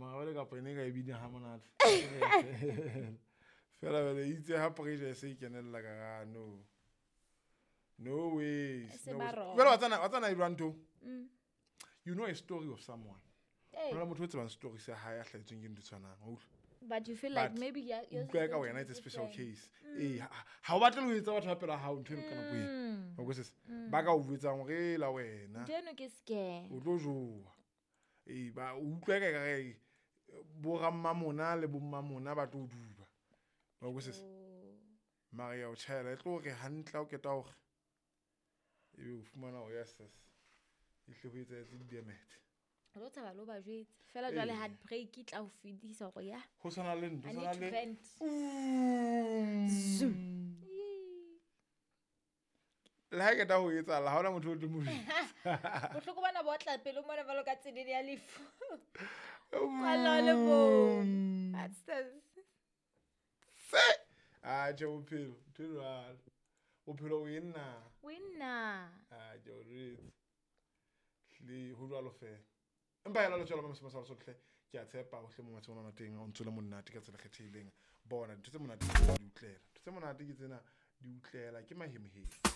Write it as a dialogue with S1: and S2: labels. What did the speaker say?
S1: Mara jwale kapa ene ka e bina ha monate fela jwale itse ha pressure e se e kenella ka ra no, no ways.
S2: Se
S1: No
S2: ba
S1: ways.
S2: wrong.
S1: Jwale wa tsana e jwang ntho? You know a story of someone.
S2: Hey.
S1: Hona le motho o tsebang story sa hae a hlahetsweng ke ntho e tshwanang, wa utlwa?
S2: But you feel like
S1: But
S2: maybe yours is
S1: utlwa ka
S2: going to
S1: wena
S2: be
S1: it's a special
S2: different.
S1: case. Ee, ha o batle le ho etsa batho ba pela hao ntho eno ka nako eo. Wa utlwisisa? Ba ka o jwetsang hore "E la wena
S2: Ntho eno ke scare.
S1: O tlo jowa." Ee, ba o utlwa ka ekare bo rammamona le bommamona ba tlo o duba, wa utlwisisa? Mara ya o tjhaela e tlo re hantle ha o keta hore ebe o fumana hore yes, yes, ehlile ho etsahetse di-damage.
S2: O tlo tshaba le ho ba jwetsa fela jwale.
S1: Ee.
S2: Heartbreak e tla o fedisa hore ya
S1: Ho tshwana le ntho
S2: I
S1: tshwana
S2: need to
S1: le
S2: vent.
S1: Zoom. Le ha e keta ho etsahala, ha hona motho o tlo mo jwetsa.
S2: Bohloko bona bo tla pelo mona jwalo ka tsenene ya lefu. Kwalla le bo. That's the
S1: Se atjhe, bophelo ntho e jwalo, bophelo o enna.
S2: Winner.
S1: Atjhe, o jwetse le ho jwalo fela, empa hela le tswela mo sa sotlhe. Ke a tshepa ohle mo matsheng ona teng o ntso le monate ka tsela e kgethehileng. Bona dintho tse monate di utlela, ntho tse monate ke tsena di utlela ke mahemohemo.